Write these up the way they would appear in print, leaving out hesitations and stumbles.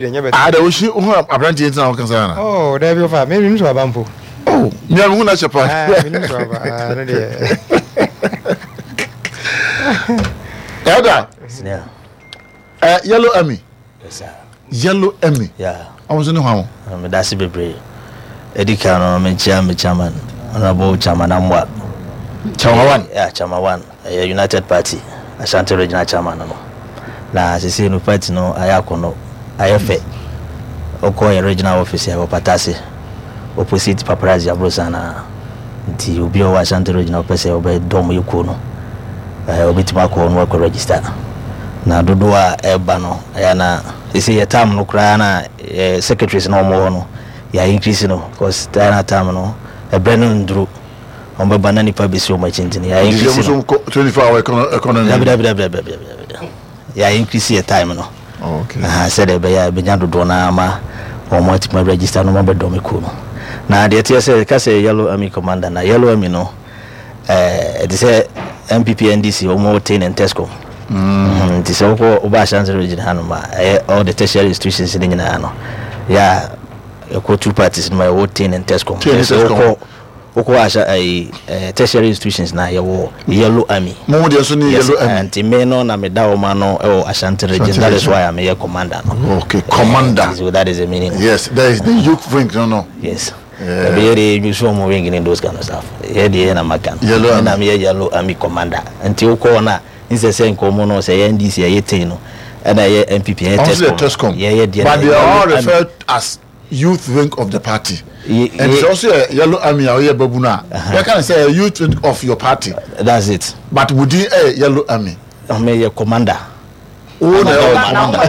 Deɛ nyɛ bɛtɛ. Ah, da wosi ho aberanteɛ ntina wo kasa ana? Oh, dabi ofa, me menim so aba mpo. Oh, me a mehu na kyɛ pa. Ah, menim so aba. Ah, no deɛ. Elder. Senior. Yellow Army. Yes, sir. Yellow Army. Yeah. Ɔmo so ne hwan? Meda ase bebree. Edi kan no, mekyia me chairman, Honorable Chairman Amoah. Chairman One. Yeah, Chairman One. Ɛyɛ United Party Ashanti Regional Chairman no. Na sesei no party no ayɛ akɔnnɔ, ayɛ fɛ. Wokɔ yɛn regional office a ɛwɔ Patase, opposite Paparazzi Aborosan no a. Nti obi a ɔwɔ Ashanti Region a ɔpɛ sɛ ɔbɛdɔm yɛ kuo no, ɔbɛtumi akɔ hɔ na wakɔ register. Na dodoɔ a ɛreba no, ɛyɛ a na sesei yɛ term no koraa na yɛ secretaries no a wɔwɔ hɔ no, yɛ increase no because na term no, ɛberɛ no nnuru. Wɔn bɛba na nipa bɛsi wɔn akyi nti no yɛ increase no. 24 hour economy. Dabi dabi dabi dabi dabi dabi. Yɛ increase yɛ time no. Oh, okay. Aha sɛdeɛ ɛbɛyɛ a ɛbɛnya dodoɔ no ama wɔn atumi register na wɔn abɛdɔm kuo no. Na deɛ ɛteɛ sɛ ɛka sɛ Yellow Army commander na Yellow Army no ɛɛ ɛte sɛ NPP NDC wɔn wɔ Tain and Tescom. Mm. Nti sɛ wokɔ woba Ashanti region hanom a ɛyɛ all the tertiary institutions no nyinaa no yɛ a ɛkɔ two parties no ma ɛwɔ Tain and Tescom. Tain and Tescom. Wokɔ Wokɔ ahyɛ ayi eh, tertiary institutions na yɛwɔ yellow army. Mo deɛ nso ne yellow army. Nti me no na meda wɔn ano wɔ Ashanti region that is why a meyɛ commander no. Okay, commander. So that is the meaning. Yes, that is the youth wing no no. Yes. Ɛbi yɛ de use wɔn wing ne those kind of stuff. Yɛ deɛ yɛ na maka no. Yellow army. Ɛna meyɛ yellow army commander. Nti wokɔ hɔ na nsɛ sɛ nkɔmɔ no sɛ yɛ NDC ɛyɛ tein no ɛna ɛyɛ NPP ɛyɛ Tescom. Yɛ yɛ deɛ. But they are all referred as youth wing of the party and sɛ ɔso yɛ yellow army a ɔyɛ babu no a yɛka ne sɛ youth wing of your party. That's it. But wo din ɛyɛ yellow army. Ɔmo yɛ commander. Wo na ɛwɔ commander.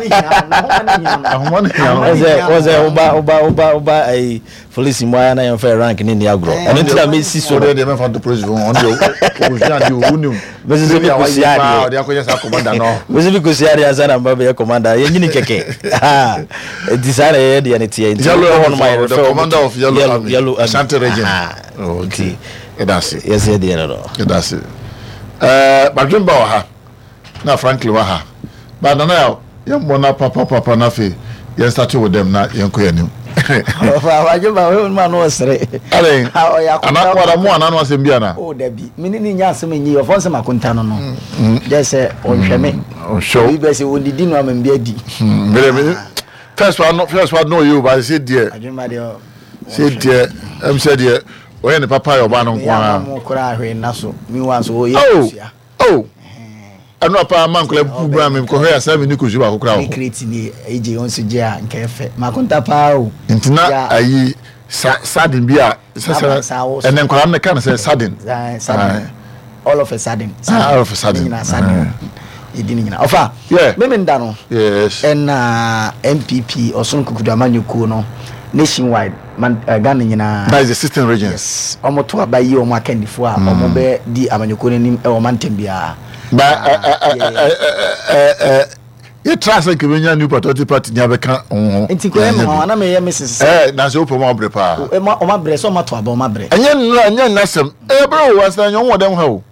Ahoma ne hia no. Ɔsɛ ɔsɛ ɔba ɔba ɔba ɔba ayi polisi mu ayɛ na yɛn fɛ rank ne ni agorɔ. Ɛno ti na mi si so. Ɔdeɛ deɛ mɛfa nto polisi fo ɔno deɛ ɔkosua adeɛ owu nim. Mesi so mi kosua adeɛ. Ɔde akɔyɛ saa commander no. Mesi mi kosua adeɛ ansa na mba bɛyɛ commander yɛ nyini kɛkɛ. Nti saa na yɛyɛ deɛ no teɛ. Nti Yellow wokɔ Army hɔ nom a for the yɛrefɛ wɔn commander to of Yellow Army, Yellow Army. Ashanti region. Aha. Oh, okay. Nti Yɛda ase. yɛsɛ deɛ no no. Yɛda ase. Ɛɛ Badwemba wɔ ha na Franklin wɔ ha. Ba Nana Yaw, yɛmmɔ na papapapa na afei yɛn start wo dɛm na yɛnkɔ yɛn anim. Ɔfa Badwemba wɔ mu a na ɔsere. Adɛn? Ɔyɛ akonta. Ana wada mo ana no asɛm bi ana? Oh dabi, me ne ne nya asɛm nyi ɔfɔ nsɛm akonta no no. Gyɛ sɛ ɔnhwɛ me. Ɔnhwɛ wo. Obi bɛ sɛ ɔdidi no ama me bi adi. Mede me first one no first one no ɔyɛ o ba sɛ deɛ. Adwuma deɛ. Sɛ deɛ ɛm sɛ deɛ ɔyɛ ne papa yɛ ɔbaa no nko ara. Meyɛ ama mo koraa hwee nna so meanwhile nso ɔyɛ Oh kosua. oh ɛno apa ama nkɔla pupu bra me nkɔhwɛ asa me ni kosua baako koraa wɔ Ne hɔ. crate ni AJ wɔn nso gye a nka ɛfɛ makonta paa o. Nti na Ya. ayi sa sardine bi a sɛ Aba sɛ saa wɔ so. ɛnɛ nkwadaa no ka no sɛ sardine. Sardine. Aye. All of a sudden. Ah, all of a sudden. Ne nyinaa sudden. Yɛdi ne nyinaa. Ɔfa. Yeah. Meme nda no. Yes. Ɛna NPP ɔsono kukudu amanyɔkuo no nationwide man, uh, Ghana nyinaa. That is the 16 regions. Yes. Wɔn to aba yi wɔn akandifoɔ a wɔn bɛ di amanyɔkuo no anim ɛwɔ mantam biara. Ba ɛ ɛ ɛ ɛ ɛ yɛtra sɛ nka bɛnya New Patriotic Party ni abɛka ho ho. Nti kò yɛ me nwanwa na meyɛ me sese sɛ. Ɛɛ na sɛ wopɛ mu abrɛ paa. Ɔma brɛ sɛ ɔma to aba ɔma brɛ. Ɛnyɛ nnura ɛnyɛ nnasɛm ɛyɛ brɛ o asena nyɛ wɔn dɛm ha o.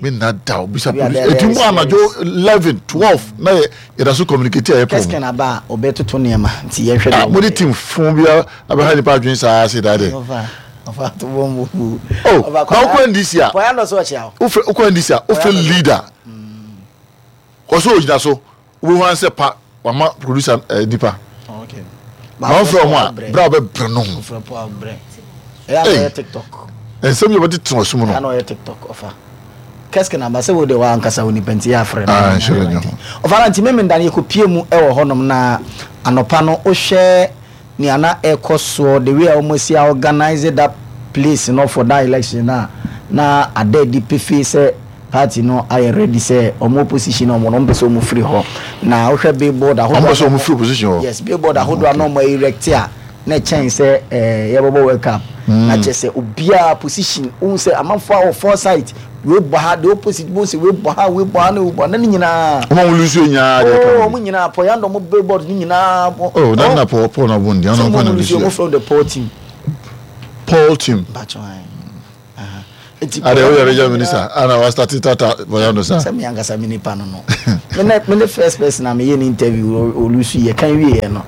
Me nna da o bisa police eti mu anadwo 11 12 na yɛ yɛda so communicate a yɛ pɔn. Kɛsikɛn aba a ɔbɛtoto nneɛma nti yɛhwɛ deɛ. Ah mo de team fun bi abɛha nipa adwene saa se da de. Ɔfa ɔfa to bɔ mu. Oh na wokɔ NDC a. Pɔya ndɔ so ɔkyea o. Wokɔ NDC a wofrɛ leader. Ɔsɛ ogyina so wobɛhu ara sɛ pa wama producer eh, nipa. Na ɔmfrɛ ɔmo a berɛ a ɔbɛbrɛ no ho. Ei, nsɛm yɛ wɔde tena ɔsom no. Kɛske na ba sɛ wo de wa ankasa wo nipa nti yɛ afrɛ no. Ah, nhyɛ nyɛ ho. Ɔfa na nti meme nda no yɛkɔpie mu wɔ hɔnom na anɔpa no wohwɛ nea na ɛkɔ soɔ the way a wɔn asi a organize that place no for that election no a na ada adi pefee sɛ party no ayɛ ready sɛ wɔn opposition wɔn no wɔn pɛ sɛ wɔn firi hɔ na wohwɛ billboard ahodoɔ wɔn pɛ sɛ wɔn firi opposition hɔ yes billboard ahodoɔ a na wɔn erect a na ɛkyɛn sɛ ɛɛ yɛbɛbɔ world cup na kyerɛ sɛ obiara position ohun sɛ amanfoɔ a wɔ foresight wei bɔ ha the opposite bo sɛ wei bɔ ha wei bɔ ha ne wei bɔ ha na ne nyinaa. Wɔn a wɔn lusu nyinaa deɛ ɛka. Oh wɔn nyinaa pɔ yandɔ wɔn billboard ne nyinaa bɔ. Oh na na pɔ pɔ na bɔ ndi ɔno nkwa na lusu. Sɛ wɔn lusu wɔn from the Paul team. Paul team. Mpatsɔ ayi. Eti Ade woyɛ regional minister ana wa start tata bɔyando sa. Sɛ me ankasa me nipa no no. Me ne me ne first person a meyɛ ne interview olusu yɛ kan wie yɛ no.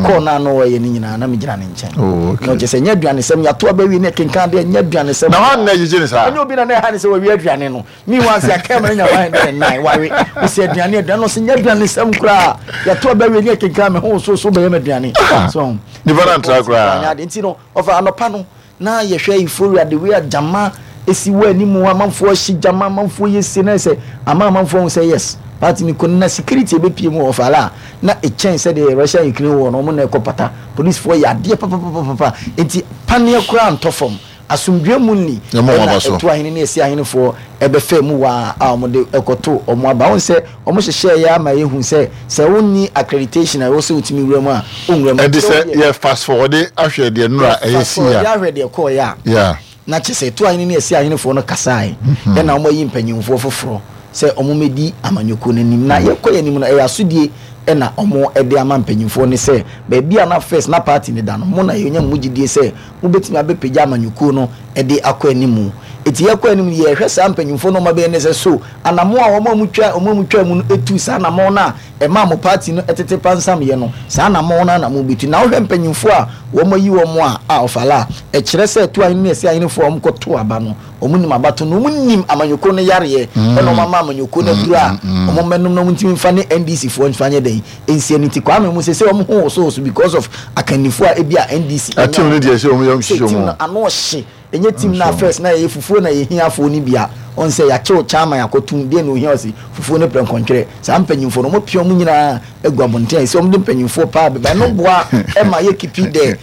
Call na ano wɔyɛ ne nyinaa na me gyina ne nkyɛn. Oh okay. Na ɔkyɛ sɛ nyɛ aduane sɛm yɛato aba wie ne kenkan deɛ nyɛ aduane sɛm. Na wɔn na gyegye ne saa. Ɛnyɛ obi na na ɛha ne sɛ wɔwie aduane no. Meanwhile sɛ aka ma no nya 109 wawe. Wɔsi aduane aduane no sɛ nyɛ aduane sɛm koraa. Yɛato aba wie ne kenkan me ho so so bɛyɛ m'aduane. So nipa na ntra koraa. Nti no ɔfa anɔpa no Na yɛhwɛ euphoria the way a gyama esi wɔ anim amanfoɔ ahye gyama amanfoɔ yɛ se na sɛ ama amanfoɔ ahu sɛ yes party no kɔ na security ebepie mu wɔ ɔfaala a na ɛkyɛn sɛdeɛ Russia and Ukraine war no wɔn na ɛkɔ pata policefoɔ yɛ adeɛ papapapapa nti paneɛ koraa ntɔ fam asomdwoeɛ mu nni ɛna ɛto ahene ne ɛsi ahenefoɔ ɛbɛfɛ mu waa a wɔn de ɛkɔto wɔn aba wɔn sɛ Wɔn hyehyɛɛ yɛ ama yɛhu sɛ sɛ wonni accreditation a ɛwɔ sɛ wotumi wura mu a, wonwura mu. Ɛnti sɛ yɛ fast forward ahwɛ deɛ nnora ɛyɛ sii a. Yɛ fast forward ahwɛ deɛ ɛkɔɔeɛ a. Yeah. Na kyerɛ sɛ Ɛtu ahene ne Ɛsi ahenefoɔ no kasaeɛ ɛna wɔn ayi mpanyinfoɔ foforɔ sɛ wɔn mmɛdi amanyɔkuo no anim. Na yɛkɔ yɛn anim no ɛyɛ asodie ɛna wɔn ɛde ama mpanyinfoɔ no sɛ baabi a na first na party no da no mo na yɛnya mo mu gyidie sɛ mobɛtumi abɛpagya amanyɔkuo no de akɔ anim. Enti yɛkɔ anim no, yɛhwɛ saa mpanyimfoɔ no a wɔabɛyɛ no sɛ, so anammɔn a wɔn a wɔtwa wɔn a wɔtwaa mu no tuu saa anammɔn no a ɛmaa mo party no tete pansamyɛ no, saa anammɔn no ara na mobɛtu? Na wohwɛ mpanyimfoɔ a wɔayi wɔn a a ɔfala a, ɛkyerɛ sɛ tu ahene ne ɛsɛ ahenefoɔ a wɔkɔto aba no, wɔnim abato no, wɔnim amanyɔkuo no yareɛ, ɛna wɔama amanyɔkuo no aduro a wɔmmɛnom na wɔntumi mfa ne NDC foɔ mfa nyɛ dɛn? Nsia no nti Kwame mu sese wɔn ho wosowoso because of akannifo a ebi a NDC anya team no deɛ sɛ wɔn yam hyehyɛ wɔn. Team no ano ɔhye ɛnyɛ team no a first na yɛyɛ fufuo na yɛhia afoɔ no bi a wɔn sɛ yɛakyew chairman akɔtum deɛ na ohia ɔsi fufuo ne prɛnkɔntwerɛ saa mpanyinfoɔ no wɔn apia wɔn nyinaa agu abɔnten a ɛsɛ wɔn de mpanyinfoɔ paa bɛba ɛno boa ɛma yɛ kipi dɛ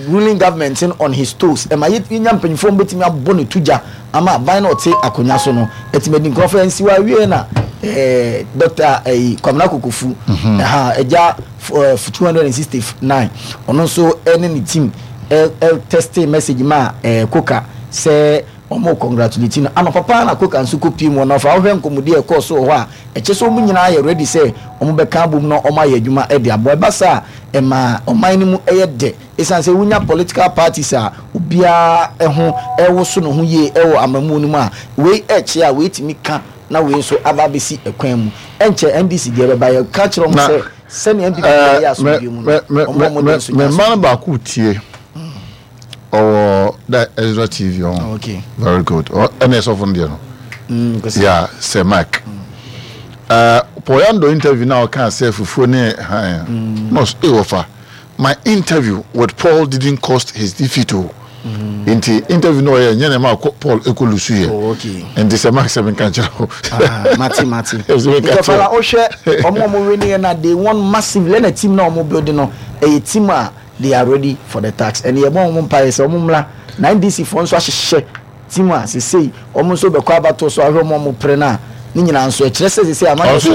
ruling government no on his toes ɛma yɛnya mpanyinfoɔ wɔn bɛtumi abɔ ne to gya ama aban na ɔte akonnwa so no ɛtumi adi nkurɔfoɔ nsiwa awie na ɛɛ dɔkta ɛyi Kwamina Kokofu ɛha ɛgya ɛɛ 269 ɔno nso ɛne ne team ɛ ɛ testing message ma ɛɛ koka sɛ wɔn congratulate no anɔpa paa na koka nso kɔ pie mu ɔno afa ɔhwɛ nkɔmɔdi a ɛkɔɔ so wɔ hɔ a ɛkyɛ sɛ wɔn nyinaa yɛ ready sɛ wɔn bɛka abom na wɔn ayɛ adwuma ɛde aboa ɛba saa ɛma ɔman no mu yɛ dɛ esiane sɛ wonya political parties a obiara ho rewoso ne ho yie wɔ amammuo no mu a, wei rekyea a wei tumi ka na wei nso aba abɛsi kwan mu. Ɛnkyɛ NDC deɛ bɛba, yɛka kyerɛ wɔn sɛ sɛnea NPP deɛ yɛ asomdwoeɛ mu no, wɔn a wɔde nso nyɛ asomdwoeɛ. Me mma no baako tie ɔwɔ da Ezra TV ɔn. Oh, okay. Very good. Ɛna ɛsɔfo no deɛ no. Mm, yeah, Sir Mike. Mm. Uh, Poyando interview na ɔka sɛ fufuo ne han. Mm. No, eh, wɔfa. My interview with Paul didn't cost his defeat o. Mm. Nti interview no ɔyɛ nyɛ na ɛma Paul ekɔ lusu yɛ. Oh, okay. Nti sɛ Mark sɛ menka nkyerɛ wo. Ah, mate mate. Nti ɔfala wohwɛ ɔmo ɔmo win yɛ na they won massively ɛna team na ɔmo build no ɛyɛ team a they are ready for the tax ɛne yɛbɔ wɔn mpaeɛ sɛ wɔn mmra na NDC foɔ nso ahyehyɛ team a sesei wɔn nso bɛkɔ abatoɔ so ahwɛ wɔn a wɔn pere no a ne nyinaa nso ɛkyerɛ sɛ sesei ama Ɔno nso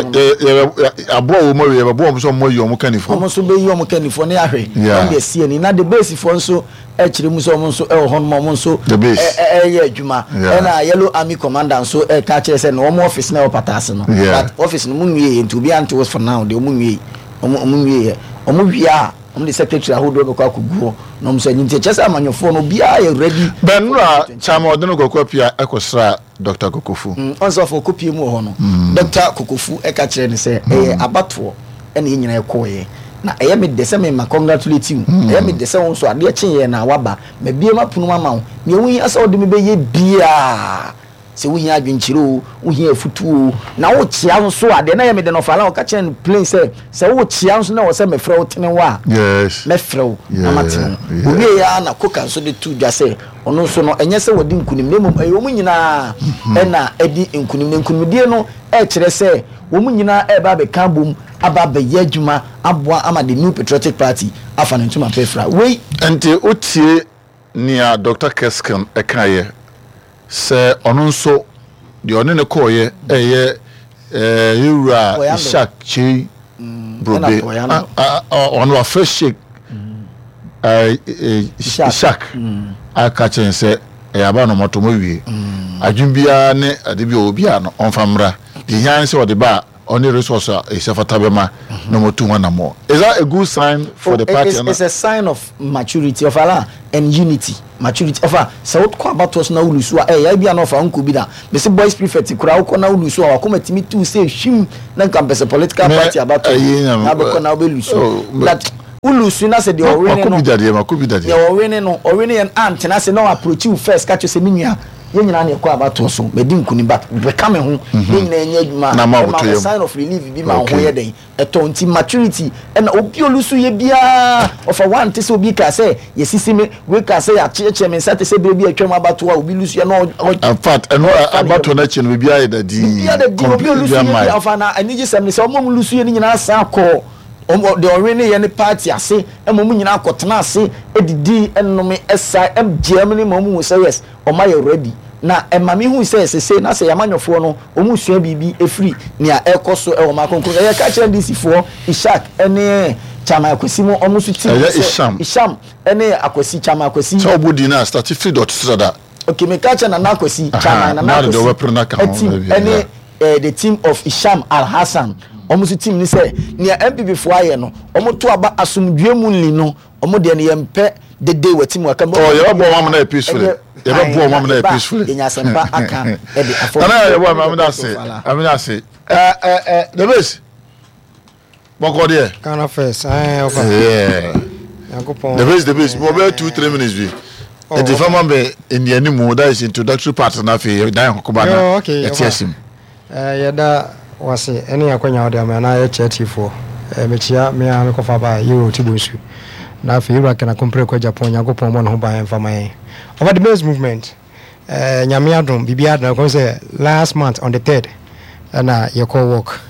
aboa wɔn awie yɛbɛboa wɔn sɛ wɔn ayi wɔn kannifoɔ. Wɔn nso bɛyi wɔn kannifoɔ ne ahwɛ wɔn de asi ani na the base foɔ nso ɛkyerɛ mu sɛ wɔn nso ɛwɔ hɔ nom wɔn nso ɛyɛ adwuma ɛna yellow army commander nso ɛka kyerɛ sɛ na wɔn office na ɛwɔ pataase no but office no mu nwie yɛ nti obi ante for now deɛ wɔn nwie wɔn wɔn nwie yɛ wɔn wie a. Wɔn de secretary ahodoɔ bɛkɔ akɔgu hɔ na wɔn nso anyi nti ɛkyerɛ sɛ amanyɔfoɔ no obiara yɛ ready. Bɛnora Chairman Ɔdene Kwaku Appiah kɔsraa Doctor Kokofu. Ɔn sɛ ɔfɔ ɔkɔpie mu wɔ hɔ no Doctor Kokofu ka kyerɛɛ no sɛ ɛyɛ abatoɔ ɛna yɛn nyinaa yɛkɔɔeɛ na ɛyɛ me dɛ sɛ me ma congratulate wo ɛyɛ me dɛ sɛ wo nso adeɛ kyeeɛ na waba mabue m'apono mu ama wo nea wohia sɛ wode me bɛyɛ biara Sɛ wohia adwenkyerɛ oo, wohia afutuo oo, na wokyea nso a, deɛ na ɛyɛ me dɛ no ɔfaa line ɔka kyerɛɛ no plain sɛ, sɛ wokyea nso na ɛwɔ sɛ mefrɛ wo tene wo a, Yes. mɛfrɛ wo na matene wo. Yeah. Ɔwieeɛ ara na Coker nso de too dwa sɛ, ɔno nso no, ɛnyɛ sɛ wadi nkunim na mmom ɛyɛ wɔn nyinaa na adi nkunim. Na nkunimdie no kyerɛ sɛ wɔn nyinaa reba abɛka abom aba abɛyɛ adwuma aboa ama the New Patriotic Party afa ne ntoma pa afira. Wei. Nti wotie Nea Dɔkta Kersken kaeɛ sɛ ɔno nso deɛ ɔne no kɔeɛ yɛ yɛn wura Ishak Kyei Brobe, ɔno wafrɛ Sheik Ishak aka kyerɛ no sɛ ɛyɛ aba na ɔmatɔ mu awie. Adwene biara ne ade bi a ɔwɔ biara no ɔmfa mmra. Deɛ ɛhia ne sɛ ɔde ba a. ɔne resource a ɛsɛ fata bɛma na wɔatu ho anammɔn. Is that a good sign for the party? It's, it's a sign of maturity of Allah and unity. Maturity of sɛ wokɔ abatoɔ so na wolusu a ɛyɛ bi a na ɔfa nkɔ bi da. Mese boys prefect koraa wokɔ na wolusu a wakoma tumi tu sɛ hwim na nka mpɛ sɛ political party abatoɔ na abɛkɔ na wobɛlusu. But wolusu na sɛ deɛ ɔwene no deɛ ɔwene no ɔwene yɛn antena ase na ɔapproach you first ka kyerɛ sɛ me nua Yɛn nyinaa na yɛkɔ abatoɔ so, madi nkunim but bɛka me ho, yɛn nyinaa nyɛ adwuma a, ɛma wo sign of relief bi ma wo ho yɛ dɛn, ɛtɔ nti maturity ɛna obi olusu yɛ biara ɔfa wante sɛ obi kaa sɛ yɛsisi me, wei kaa sɛ yɛakyeɛkyeɛ me nsa te sɛ berɛ bi a atwam abatoɔ a obi lusu yɛ na ɔ In fact, ɛno abatoɔ no akyi no biribiara yɛ da dinn, biribiara da dinn, obi olusu yɛ biara ɔfa na anigyesɛm ne sɛ wɔn a wɔlusu yɛ no nyinaa san kɔɔ wɔn deɛ ɔwene yɛ ne party ase ɛma wɔn nyinaa kɔtena ase didii ɛnome ɛsa ɛgyeɛ ne ma wɔn hu sɛ yes Wɔn ayɛ ready. Na ɛma me hui sɛ sesei na sɛ yɛn amanyɔfoɔ no wɔn resua biribi ɛfiri nea ɛrekɔ so wɔ ɔman kronkron so. Yɛka kyerɛ NDC foɔ Ishak ne Chairman Akwasi mo wɔn nso team no Ɛyɛ sɛ Isham. Isham ne Akwasi, Chairman Akwasi. Sɛ ɔbɔ din no a starte firi deɛ ɔte so dada. Okay, meka kyerɛ Nana Akwasi, Aha, Chairman Nana na de deɛ Akwasi ɔbɛpere no aka ho team na bi, ne yeah. eh, the team of Isham Alhassan wɔn nso team ne sɛ nea NPP foɔ ayɛ no wɔn to aba asomdwoeɛ mu nli no Ɔmo deɛ no yɛn pɛ dede wɔ ti mu aka mu. Oh yɛbɛ bɔ ɔmo amena yɛ peacefully. Yɛbɛ bɔ ɔmo amena yɛ peacefully. Yɛnya asɛmpa aka ɛde afɔ. Nana yɛ bɔ amena ase amena ase. Ɛ ɛ ɛ the base. Bɔkɔ deɛ. Ghana first ɛɛ ɔfa. Yeah. Nyankopɔn. The base the base mo bɛ 2 3 minutes bi. Nti fama bɛ nniani mu that is introductory part na afei dan kɔkɔba na yɛte asim. Yɛda wo ase ne akwanya a wode ama yɛn na yɛkyɛ atiefoɔ. Mekyea me ara me kɔfa ba Euro Tibonsu na afei Ewura Ken Akompreko Agyapong Nyankopɔn mmɔ ne ho ban mfa ma yɛn. Ɔfa the Maize Movement Nyame adom biribiara adom ɛkɔm sɛ last month on the third ɛna yɛkɔ work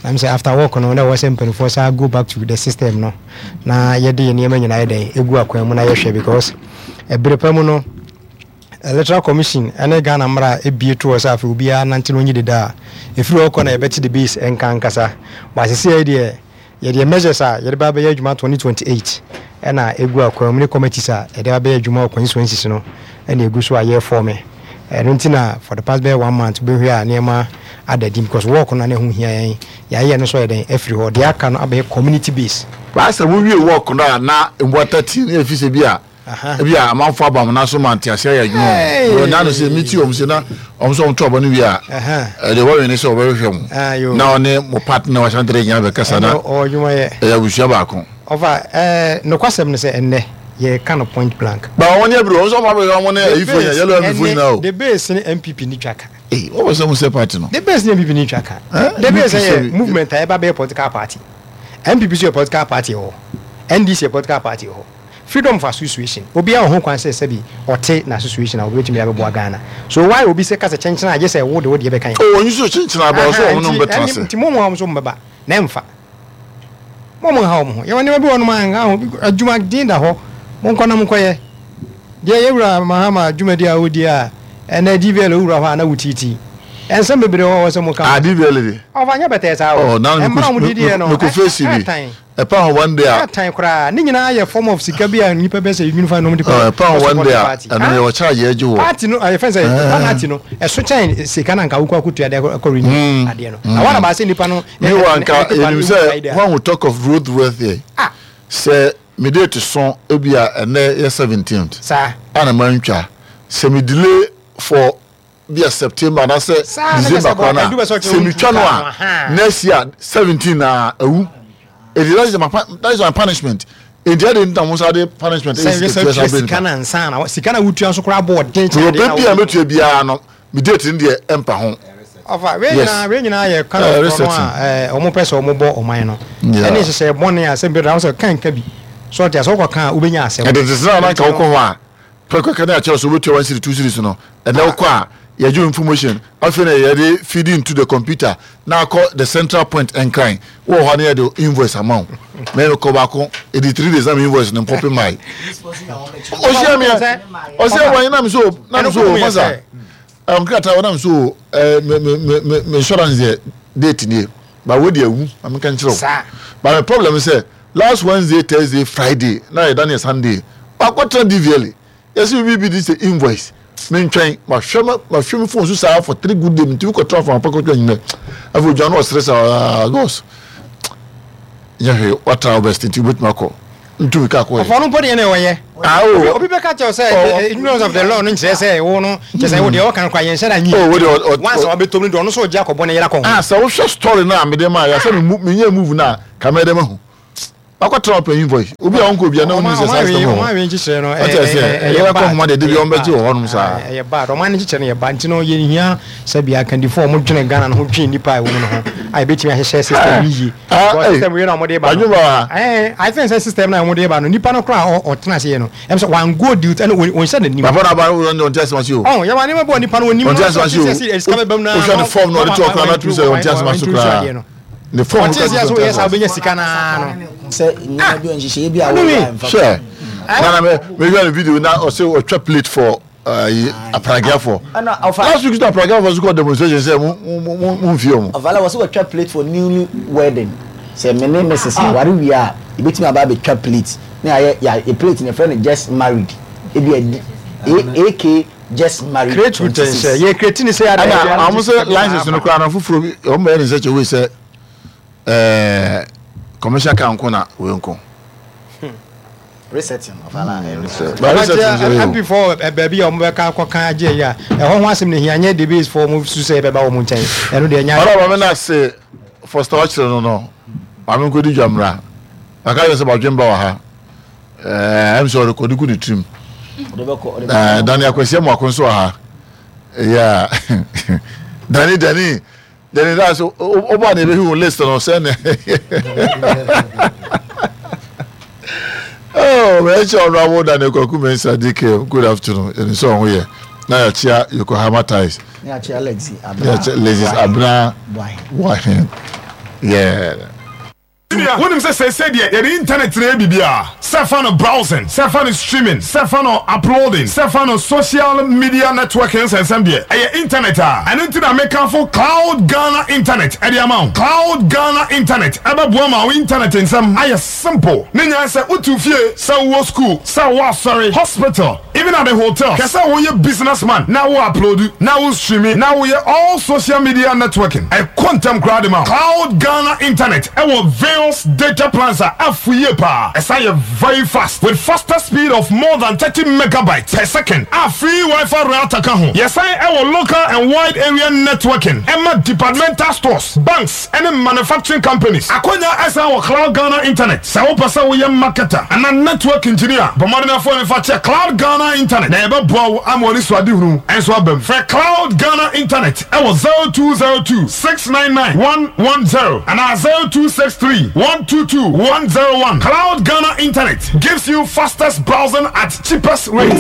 na me sɛ after work no na ɛwɔ sɛ mpanimfoɔ saa go back to the system no na yɛde yɛn nneɛma nyinaa yɛ dɛn egu akwan mu na yɛhwɛ because ɛbere pa mu no Electoral Commission ne Ghana mmara a ebue to hɔ sɛ afei obiara nante na onyi deda a, ɛfiri hɔ kɔ na yɛbɛte the base nka ankasa. But seesei deɛ, yɛdeɛ measures a yɛde ba abɛyɛ adwuma 2028 ɛna ɛgu akwan mu ne committees a yɛde ba abɛyɛ adwuma wɔ constituencies no ɛna ɛgu so a yɛrefɔme. Ɛno nti na for the past bɛyɛ one month wobɛhwɛ a nneɛma ada dim because work no na na ɛho hia yɛn. Yɛayɛ no nso ayɛ dɛn afiri hɔ. Deɛ aka no abɛyɛ community base. Baasa wowie work no a na mmoa 13 na ɛfi sɛ bi a Ebi a amanfo aba wɔn nan so ma ntease ayɛ adwuma o. Wɔn nan no sɛ meti wɔn sɛ na wɔn sɛ wɔn to aba no wie a, ɛde wɔwe ne sɛ wɔbɛhwehwɛ mo na ɔne mo partner wɔ asantere nyinaa bɛkasa na ɛyɛ abusua baako. Ɔfa ɛɛ nokwasɛm no sɛ ɛnnɛ yɛka no point blank. Ba wɔn nyɛ bere wɔn nso wɔn abɛhwɛ wɔn ne ayifo nyinaa yellow MP fo nyinaa o. The base ne NPP ni twa ka. Ee wɔn bɛ sɛ mo sɛ party no. The base ne NPP ni twa ka. The base yɛ movement a ɛba bɛyɛ political party. NPP nso yɛ political party wɔ hɔ. NDC yɛ political party wɔ hɔ. Freedom of association, obiara wɔ ho kwan sɛ sɛbi ɔte n'association a obetumi de abɛboa Ghana. So why obi sɛ ka sɛ kyenkyen a gye sɛ wo de wo deɛ bɛka yɛn? Oh onyi so kyenkyen aba ɔsɛ wɔn ne wɔn bɛtena ase. Nti mo mo a wɔn nso wɔn bɛba na ɛmfa. Mo mo nha wɔn ho. Yɛwɔ nneɛma bi wɔ hɔnom a nha ho adwuma den da hɔ. Monkɔ na monkɔyɛ. Deɛ yɛn wura Mahama dwumadi a ɔredi a ɛnɛ DVLA wowura hɔ a na wotiitii. Nsɛm bebree wɔ hɔ a ɛwɔ sɛ moka. Ah DVLA deɛ. Ɔfa nyɛ bɛtɛɛ saa o. Oh na Mmara a wɔde diiɛ no mekɔ face bi. ɛtan. Ɛpa ho one day a. Ɛtan koraa. Ne nyinaa yɛ form of sika bi a nnipa bɛ sɛ unify na wɔde kɔ Oh, ɛpa ho kɔ one support day a party. ɛno yɛ wɔ charge yɛ gye wɔ. Party no ɛyɛ fɛn sɛ penalty no ɛso kyɛn sika na nka wokɔ akɔtua de akɔ renew adeɛ no. Na wɔn aba sɛ nipa no. Meanwhile nka yɛnim sɛ when we talk of road worthy Ah. sɛ me date so ebi a ɛnɛ yɛ 17th. Saa. Ana mantwa sɛ me delay for bi a September anaasɛ December koraa no a sɛ metwa no a next year 17 na awu eti that is my that is my punishment eti ɛde nta mo nsa de punishment ɛyɛ sika tua sa sika na nsa na sika na wotua nso koraa bɔ ɔden kyɛn de na wo bɛ bi a metua biara no me date no deɛ ɛmpa ho. Ɔfa wei nyinaa wei nyinaa yɛ kind of korɔ no a wɔn pɛ sɛ wɔn bɔ ɔman no ɛne nhyehyɛ bɔne a sɛ mbɛ sɛ kan ka bi so ɔte asɛ ɔkɔ kan a wobɛnya asɛm. Ɛde te sɛ na anka wokɔ hɔ a Prɛko ka ne akyerɛ sɛ wobɛtua one cedi two cedis no, ɛnɛ wokɔ a yɛgye wo information, afei na yɛde feed into the computer na akɔ the central point Nkran, wowɔ hɔ a na yɛde invoice ama wo. Me mekɔ baako, ɛdi 3 days na me invoice no mpɔpe mae. Ɔhyia me a, ɔsɛ wɔn na me so na me so masa. Nkrataa wɔ na me so me me me me insurance deɛ date nie, ba wo deɛ awu, ma menka nkyerɛ wo. Ba me problem sɛ Last Wednesday, Thursday, Friday na yɛda no yɛ Sunday. Makɔtena DVLA. Yɛsɛ biribi bi de sɛ invoice. Mentwɛn. Mahwɛ ma mahwɛ me phone so saa for 3 good days. Mentumi kɔtena fa mapɛ kɔtwa anwummerɛ. Afei odwa no ɔsere sɛ ah boss nyɛ hwee watra wo best nti wobɛtumi akɔ ntumi ka kɔ yɛ. Ɔfɔ no mpo deɛ na ɔyɛ. Ah o. Obi bɛka kyɛw sɛ eh, ignorance of the law no nkyerɛ sɛ wo no kyerɛ sɛ wo deɛ ɔka no kora yɛnhyɛ da nyi. Oh wo deɛ ɔ Once a wabɛtom no deɛ ɔno nso ɔgye akɔbɔ ne yere akɔ ho. Ah sɛ wohwɛ story no a mede maa yɛ sɛ me menyɛ move no a ka mɛyɛ dɛ mahu. Wakɔtena ɔpanyin voice. Obi a ɔnkɔ obi a na ɔnim sɛ saa asɛm wɔ hɔ. Ɔman nkyekyerɛ no ɛyɛ ɛyɛ bad. Ɛyɛ deɛ de bi wɔn bɛgye wɔ hɔnom saa. Ɛyɛ bad. Ɔman nkyekyerɛ no yɛ bad. Nti no yɛn hia sɛ bia akandifo a wɔn dwene Ghana no ho dwen nipa a ɛwɔ mu no ho a yɛbɛtumi ahyehyɛ system no yie. Because system wei na wɔn de ba no. Ɛɛ I think sɛ system na wɔn de ba no nipa no koraa ɔtena ase yɛ no ɛm sɛ wɔn go deal ɛna wɔn nhyɛ n'anim. Papa na aba no wɔn ti asɛm ase o. Ɔn yɛ wɔn nneɛma bɔ nipa no wɔn nim no. Wɔn ti asɛm ase o. Wohwɛ ne form na ɔde to ɔkora na tumi sɛ wɔn ti asɛm ase koraa. ne fɔm ɔte sɛ sɛ woyɛ saa wobɛnya sika naa no sɛ nneɛma bi nhyehyɛeɛ bi a wɔyɛ mfa hwɛ nana me mehwɛ ne video na ɔsɛ ɔtwa plate for ayi apragiafoɔ last week na apragiafoɔ so kɔ demonstration sɛ mo mo mo mo nfie ɔmo. Ɔfala wɔ sɛ wɔtwa plate for newly wedding sɛ me ne Mrs. Ah. Ware wie a ebetumi aba abɛtwa plate ne ayɛ yɛ plate ne yɛfrɛ no just married ebi a ak just married create root nhyɛ yɛ create ne sɛ ada ɛna wɔn sɛ license no koraa no foforɔ bi wɔn bɛyɛ ne nsa kyɛ wei sɛ ɛɛ commercial car nko na wei nko. Resetting of ala reset. But resetting nso yɛ o. MP fo baabi a wɔn bɛka akɔka agye yi a ɛhɔ ho asɛm na ehia nyɛ debate fo wɔn su sɛ ɛbɛba wɔn nkyɛn ɛno deɛ ɛnyɛ. Ɔdɔ maame na se Foster ɔkyerɛ no no maame nkɔdi dwa mmra maka kyerɛ sɛ badwemba wɔ ha. Ɛɛ ɛm sɛ ɔrekɔde gu ne tirim. Ɛɛ Dani Akwasi Amuako nso wɔ ha. Yeah. Dani Dani Dani da so ɔba na ebehu list no sɛ ne. Oh, mɛkyɛ Honorable Daniel Kwaku Mensah DK. Good afternoon. Yɛn nso ɔho yɛ. Na yɛakyia Yokohama Ties. Na yɛakyia Lexi Abena. Na yɛakyia Lexi Abena Boahen. Yeah. Senior, wonim sɛ seesei deɛ yɛde internet na ɛyɛ biribiara, sɛ fa no browsing, sɛ fa no streaming, sɛ fa no uploading, sɛ fa no social media networking nsɛnsɛm deɛ, ɛyɛ internet a. Ɛno nti na mekamfo Cloud Ghana Internet de ama wo. Cloud Ghana Internet bɛboa ma wo internet nsɛm ayɛ simple. Ne nyinaa ne sɛ wote wo fie, sɛ wowɔ school, sɛ wowɔ asɔre, hospital, Even at the hotel, hwɛ sɛ woyɛ business man na wo upload, na wo streame, na woyɛ all social media networking. Ɛkɔ ntɛm koraa de ma wo. Cloud Ghana Internet wɔ various data plans a afu yie paa. Ɛsan yɛ very fast with faster speed of more than 30 megabytes per second a free WiFi router ka ho. Yɛsan wɔ local and wide area networking ɛma departmental stores, banks, ne manufacturing companies. Akwanya san wɔ Cloud Ghana Internet. Sɛ wopɛ sɛ woyɛ marketer anaa network engineer a, bɔ mmɔden afoa me fa kyɛ Cloud Ghana Internet na yɛbɛboa wo ama w'anisoadehunu nso aba mu. Frɛ Cloud Ghana Internet wɔ 0202 699 110 anaa 0263 122 101. Cloud Ghana Internet gives you fastest browsing at cheapest rate.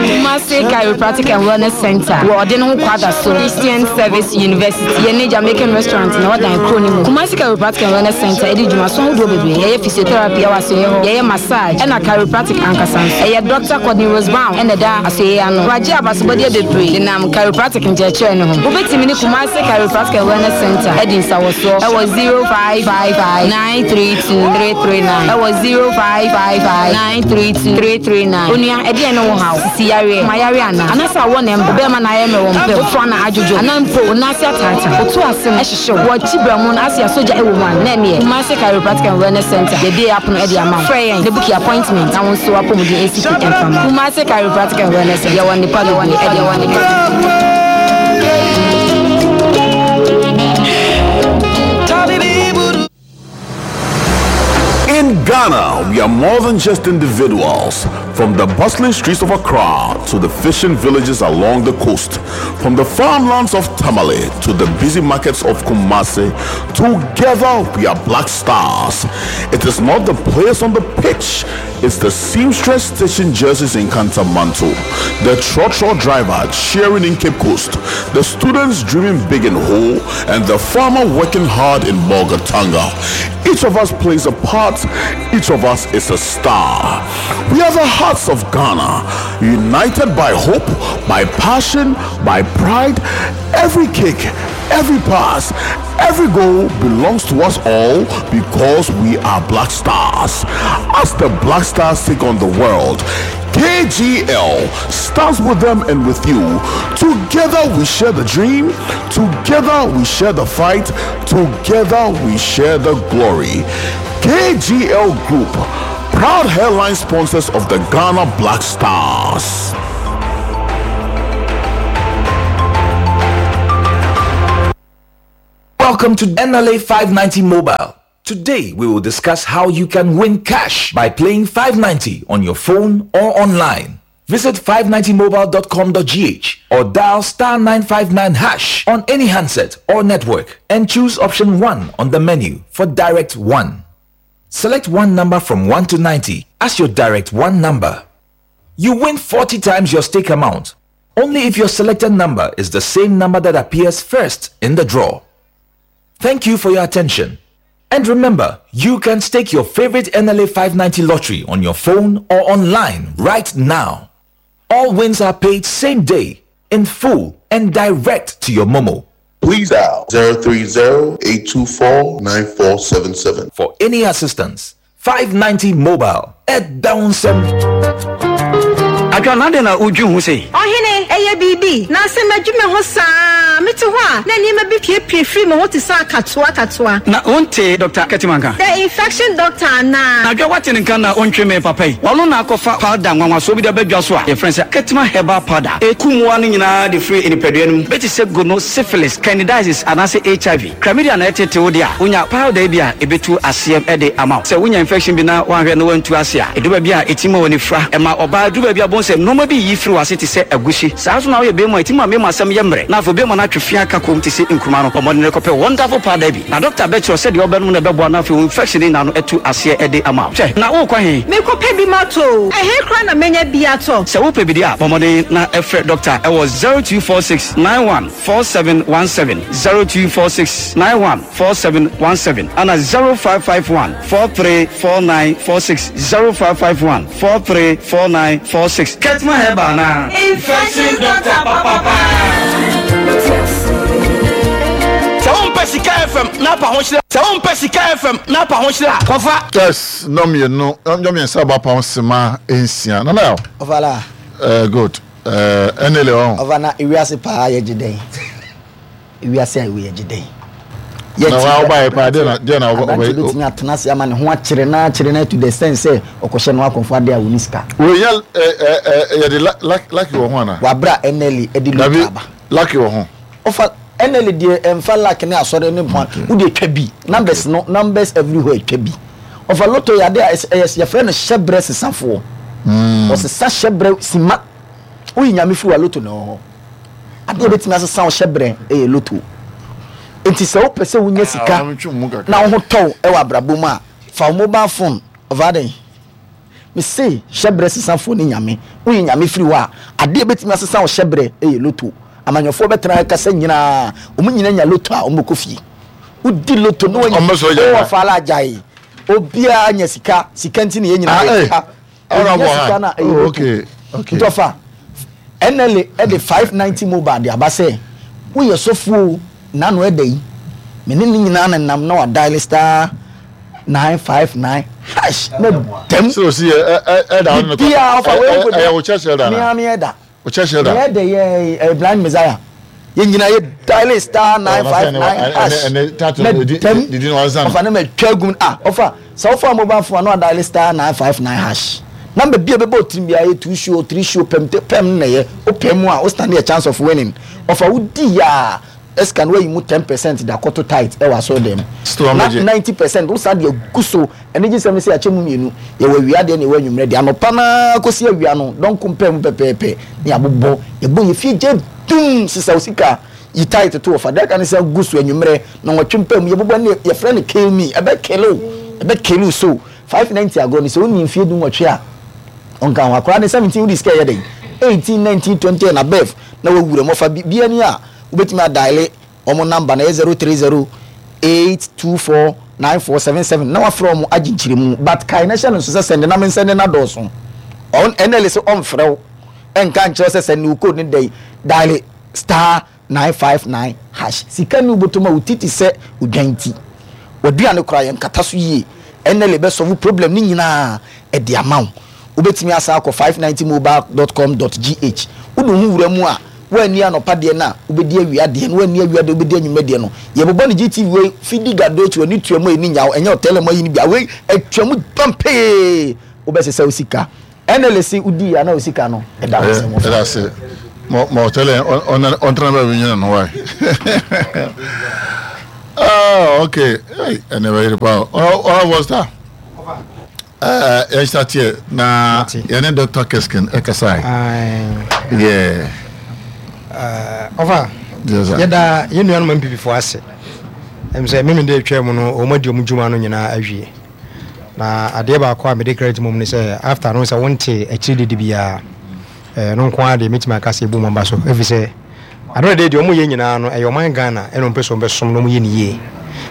Kumasi Chiropractic and Wellness Center wɔ ɔde ne ho kwada so Christian Service University yɛ ne Jamaican restaurant na ɔdan kuro no mu. Kumasi Chiropractic and Wellness Center ɛdi dwumaso ahodoɔ bebree. Yɛyɛ physiotherapy ɛwɔ asoɛeɛ hɔ, yɛyɛ massage ɛna chiropractic ankasa nso. Ɛyɛ Doctor Courtney Rose Brown ɛna ɛda asoɛeɛ ano. Wagye abasobɔdeɛ bebree denam chiropractic nkyerɛkyerɛ no ho. Wobɛtumi ne Kumasi Chiropractic and Wellness Center adi nsawɔsoɔ ɛwɔ 0555 932339 ɛwɔ 0555 932 339. Onua, ɛdeɛn ne wo haw? Sisi yareɛ, koma yareɛ anaa? Anaasɛ awɔ na ɛmba? Bɛɛma na ayɛ mmerɛ wɔ mpam, wo toa na adwodwo, anaa mpo wo nan ase ataataa, wo to ase no hyehye wo, wɔ akyi berɛmo no ase a sogya ɛwɔ mu a, na ɛneɛ Kumasi Chiropractic and Wellness Center yɛbue apono ɛde ama wo. Frɛ yɛn na buki appointment na wo nso w'apɔmuden ɛnsi pi ɛmfa ma wo. Kumasi Chiropractic and Wellness Center, yɛwɔ nnepa bebree ɛde ma wo. In Ghana, we are more than just individuals. From the bustling streets of Accra to the fishing villages along the coast, from the farmlands of Tamale to the busy markets of Kumasi, together we are Black Stars. It is not the players on the pitch, it's the seamstress stitching jerseys in Kantamanto, the trotro driver cheering in Cape Coast, the students dreaming big in Ho, and the farmer working hard in Bolgatanga. Each of us plays a part, each of us is a star. We are the hearts of Ghana, united by hope, by passion, by pride. Every kick, every pass, every goal belongs to us all because we are Black Stars. As the Black Stars take on the world, KGL stands with them and with you. Together we share the dream, together we share the fight, together we share the glory. KGL Group, proud headline sponsors of the Ghana Black Stars. Welcome to NLA 590 Mobile. Today we will discuss how you can win cash by playing 590 on your phone or online. Visit 590mobile.com.gh or dial star 959 hash on any handset or network and choose option 1 on the menu for direct 1. Select one number from 1 to 90 as your direct 1 number. You win 40 times your stake amount only if your selected number is the same number that appears first in the draw. Thank you for your attention. And remember, you can stake your favorite NLA 590 lottery on your phone or online right now. All wins are paid same day, in full, and direct to your Momo. Please dial 030-824-9477. For any assistance, 590 Mobile at Downsem. Adwoa, na adɛn na wudwen ho sei? Ɔhene, ɛyɛ biribi, na sɛ madwi me ho saa a, mete hɔ a, na nneɛma bi piepie firi me ho te sɛ akatoa akatoa. Na wontee Dɔkta Ketewa nka? The infection doctor anaa? Na Adwoa, woate ne nka na wontwe me papa yi? Ɔno na akɔfa powder nwanwasoɔ bi de aba dwa so a yɛfrɛ no sɛ Ketewa Herbal Powder. Ɛku mmoa no nyinaa de firi nipadua no mu. Bi te sɛ gono, syphilis, candidiasis anaasɛ HIV. Chlamydia na ɛtete wo de a, wonya powder yi bi a ebetu aseɛ de ama wo. Sɛ wonya infection bi na woanhwɛ na woantu ase a, edu baabi a etumi ma w'ani fura. Ɛma ɔbaa duru baabi a wobɛhu sɛ nnoɔma bi reyi firi w'ase te sɛ agusi. Saa ara nso na woyɛ barima a, etumi ma mmarima asɛm yɛ mmerɛ na afei barima no atwe fea ka komm te sɛ nkruma no. Bɔ mmɔden kɔpɛ wonderful powder yi bi na dɔkta bɛkyerɛ wo sɛdeɛ wobɛnom na ɛbɛboa na afei wo infection no nyinaa no atu aseɛ de ama wo. Hwɛ, na worekɔ he? Merekɔpɛ bi matɔ o. Ɛhe koraa na mɛnya bi atɔ? Sɛ wopɛ bi deɛ a, bɔ mmɔden na frɛ dɔkta wɔ 0246 91 4717 0246 91 4717 ana 0551 434946 0551 434946 Ketma Herbal anaa? Infection doctor papapa. Sɛ wompɛ Sika FM na apa ho hyira Sɛ wompɛ Sika FM na apa ho hyira a, kɔfa. Yes, nnɔmmienu, nnɔmmiɛnsa aba apam sema nsia. Nana Yaw. Ɔfala. Eh, good. Eh, ɛne le ɔn. Ɔfa na ewiase paa yɛgye dɛn? Ewiase a ɛwɔ yɛgye dɛn? Na wa ɔba yɛ paa deɛ na deɛ na ɔba ɔba. Aberante betumi atena ase ama ne ho akyere na akyere na to the extent sɛ ɔkɔhyɛ no akɔnfo ade a wɔni sika. Wei yɛ ɛ ɛ yɛde lucky wɔ ho ana? Wabra NLE ɛde loto aba. Lucky wɔ ho. Ɔfa NLE deɛ ɛnfa luck ne asɔre ne ho wo deɛ twa bi numbers no numbers everywhere twa bi. Ɔfa lotto yɛ ade a ɛyɛ yɛfrɛ no hyɛbrɛ sesafoɔ. Ɔsesa hyɛbrɛ sima. Woyi nyame firi wa lotto na ɛwɔ hɔ. Ade a ɛbɛtumi asesa wo hyɛbrɛ ɛyɛ lotto. Nti sɛ wopɛ sɛ wonya sika na wo ho tɔ wo ɛwɔ abrabɔ mu a, fa wo mobile phone ɔfa adɛn? Mese hyɛbrɛ sesafoɔ ne nyame. Woyi nyame firi hɔ a, ade a ɛbɛtumi asesa wo hyɛbrɛ ɛyɛ lotto. Amanyɔfoɔ bɛtena ha kasa nyinaa, wɔn nyinaa nya lotto a wɔbɛkɔ fie. Wodi loto na wanya ɔwɔ faala agyae. Obiara nya sika, sika nti na yɛn nyinaa yɛ sika. Onya sika na ɛyɛ loto. Nti ɔfa NLA ɛde 590 mobile de aba sɛ woyɛ sɔfoɔ nano ɛda yi me ne ne nyinaa na nam na wadial star 959 hash na dɛm. Sɛ osi yɛ ɛda ɔno ne kɔ. Biara ɔfa wei nko ɛyɛ wo church elder na. Mea me ɛda. O church elder. Yɛ dɛ yɛ ɛ blind messiah. Yɛ nyina yɛ dial star 959 hash. Na dɛm ɔfa ne ma twa gum ah ɔfa sɛ ɔfa mobile phone ano dial star 959 hash. Number bi a bɛbɔ otirim bi a yɛ two show three show pɛm te pɛm na yɛ o pɛm mu a o stand a chance of winning. Ɔfa wo di ya ɛsika no wayi mu 10% de akɔto tight ɛwɔ asɔre dɛm. Na 90% wo san de agu so. Anigyesɛm ne sɛ yɛakyɛ mu mmienu, yɛwɔ awia deɛ na yɛwɔ anwummerɛ deɛ. Anɔpa no ara kɔsi awia no, dɔnko mpaa mu pɛpɛɛpɛ na yɛabobɔ. Yɛbɔ yɛn fie gya dum, sesa wo sika, yi tae toto wɔ fa. Deɛ aka ne sɛ gu so anwummerɛ, nnɔnwɔtwe mpaa mu, yɛbobɔ ne yɛfrɛ no kill me, ɛbɛ kill wo, ɛbɛ kill wo. So 590 agorɔ no, sɛ wonni mfeɛ dunwɔtwe a, ɔnka ho. Akwadaa no 17 wode sika ɛyɛ dɛn? 18, 19, 20 and above na wawura mu. Ɔfa biribiara ni a, wobɛtumi adaele Wɔn number no ɛyɛ 0308249477 na wafrɛ wɔn agye nkyerɛmu but kae na hyɛ no nso sɛ sɛnde na mensɛnde no adɔɔso. Ɔn NLA sɛ ɔmfrɛ wo ɛnka nkyerɛ wo sɛ sɛnde wo code no dɛn dial star 959 hash. Sika nni wo bɔtɔ mu a wo ti te sɛ odwan ti. W'aduane koraa yɛnkata so yie. NLA bɛ solve problem no nyinaa ɛde ama wo. Wobɛtumi asan akɔ 590mobile.com.gh. Wode wo ho wura mu a, woanni anɔpa deɛ no a, wobɛdi awia deɛ no, woanni awia deɛ wobɛdi anwummerɛ deɛ no. Yɛbobɔ no GTV wei, fidi gado akyi, w'ani tua mu a ɛni nya wo, ɛnyɛ ɔtɛlɛm ayi no bi a, wei atwa mu pampee, wobɛsesa wo sika. NLA se wodii a na wo sika no ɛda wo nsam. Ɛda ase. Ma ma ɔtɛlɛ ɔntena baabi nyina no wae. Ah, okay. Hey, ɛnɛ bɛyere paa. Ɔra Vosta. Eh, yɛn hyɛ na yɛne Dr. Keskin ɛkasae. Yeah. Ɔfa, yɛda yɛn nuanom MPP foɔ ase. Ɛm sɛ meme de atwa mu no, wɔn adi wɔn dwuma no nyinaa awie. Na adeɛ baako a mede credit mom ne sɛ after no sɛ wonte akyiri dede biara ɛno nko ara deɛ mɛtumi aka sɛ ɛbu maba so ɛfiri sɛ Ano de deɛ wɔyɛ nyinaa no ɛyɛ ɔman Ghana ɛna wɔpɛ sɛ wɔbɛsom na wɔyɛ no yie.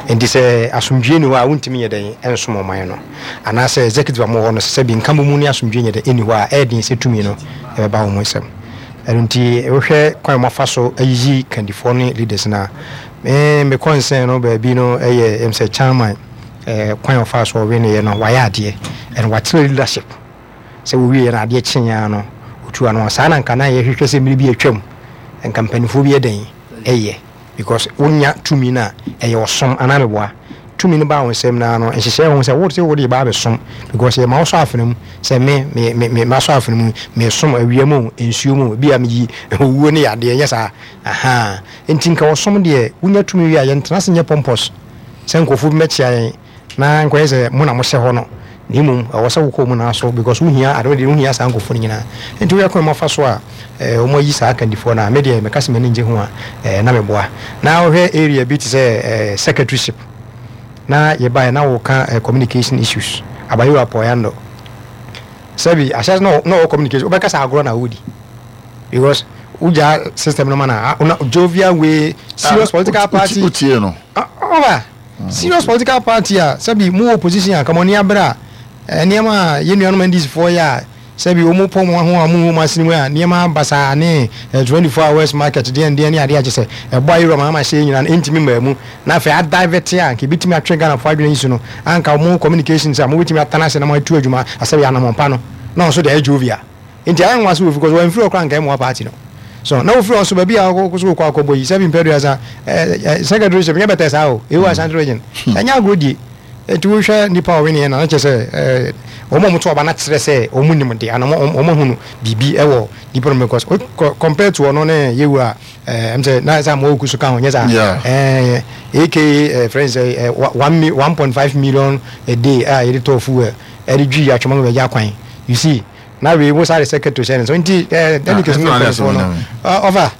Nti sɛ asomdwie nni hɔ a wontumi nyɛ dɛn nsom ɔman no. Anaasɛ executive a wɔwɔ hɔ no sɛ sɛbi nkabomu ne asomdwie nyɛ dɛn nni hɔ a ɛyɛ den sɛ tumi no ɛbɛba wɔn nsam. Ɛno nti wohwɛ kwan a wɔafa so ayiyi kandifoɔ ne leaders no a, me me concern no baabi no ɛyɛ ɛm sɛ chairman eh, kwan a ɔfaa so ɔweneeɛ no wayɛ adeɛ and wakyerɛ leadership. Sɛ wɔwieɛ no adeɛ kyeeɛ ara no ɔtuu ano a saa na nka na yɛhwehwɛ sɛ mmerɛ bi atwam nka mpanimfoɔ bi yɛ dɛn ɛyɛ because wonya tumi no a ɛyɛ ɔsom anaa meboa tumi no baa wo nsam naa no nhyehyɛɛ ho sɛ wo sɛ wode ba abɛsom because yɛma wo sɔ afena mu sɛ me me me me masɔ afena mu mesom awia mu nsuo mu bi a meyi owuo ne yadeɛ nyɛ saa aha nti nka ɔsom deɛ wonya tumi wie a yɛntena ase nyɛ pompous sɛ nkurɔfoɔ bi mɛkyea yɛn Na nkɔyɛ sɛ mo na mohyɛ hɔ no, na mmom ɛwɔ sɛ wokɔ wɔn nyinaa so because wohia ade deɛ wohia saa nkurɔfoɔ no nyinaa. Nti woyɛ kwan mu afa so a eh, wɔn ayi saa akandifoɔ no a, me deɛ meka sɛ m'ani ngye ho a eh, na meboa. Na wohwɛ area bi te sɛ eh, secretaryship na yɛbaeɛ na woka eh, communication issues Abayewa Poyando sɛbi ahyɛ na na ɔwɔ communication wobɛka sɛ agorɔ na wodi because wogya system no ma na jovial way serious ah, political party wotie no ah, ɔba Serious political party a sɛbi mo wɔ opposition a nka mo ani abere a nneɛma a yɛn nuanom NDC foɔ yɛ a sɛbi wɔn pɔ wɔn ho a wɔn nhu wɔn asene mu a nneɛma basaa ne 24 hours market deɛn deɛn ne adeɛ a kyɛ sɛ ɛbɔ ayerɛ wɔn ama hyɛ nyinaa no ɛntumi mmaa mu na afei adivert a nka ebitumi atwe Ghanafoɔ adwene yi so no anka wɔn communications a wɔbɛtumi atena ase na wɔatu adwuma asɛbi anamɔn pa no na ɔnso deɛ ayɛ jovial. Nti ayɛ nwanwa sɛ wofi kɔ so wɔamfiri hɔ koraa anka ɛmmoa party no. So na wofiri hɔ nso baabi a wokɔ so wokɔ akɔbɔ yi sɛbi mpɛduasa eh, secretaryship nyɛ bɛtɛ saa o ɛwɔ Ashanti region ɛnyɛ agorɔ die. Nti wohwɛ nipa a ɔweneɛ na na kyerɛ sɛ eh, wɔn a wɔto aba no akyerɛ sɛ wɔn nim de ana wɔn ahunu biribi ɛwɔ nipa no mu because compared to ɔno ne yɛwu a ɛm sɛ na sɛ amoa oku so ka ho nyɛ saa eh, aka eh, friends eh, 1.5 million a day a yɛde tɔɔ fuel ɛde dwi atwoma ma bɛgya kwan you see na wei wo sáré secretary hyɛ ne nsa nti ɛɛ delegates ne mpanyinfoɔ no ɔfa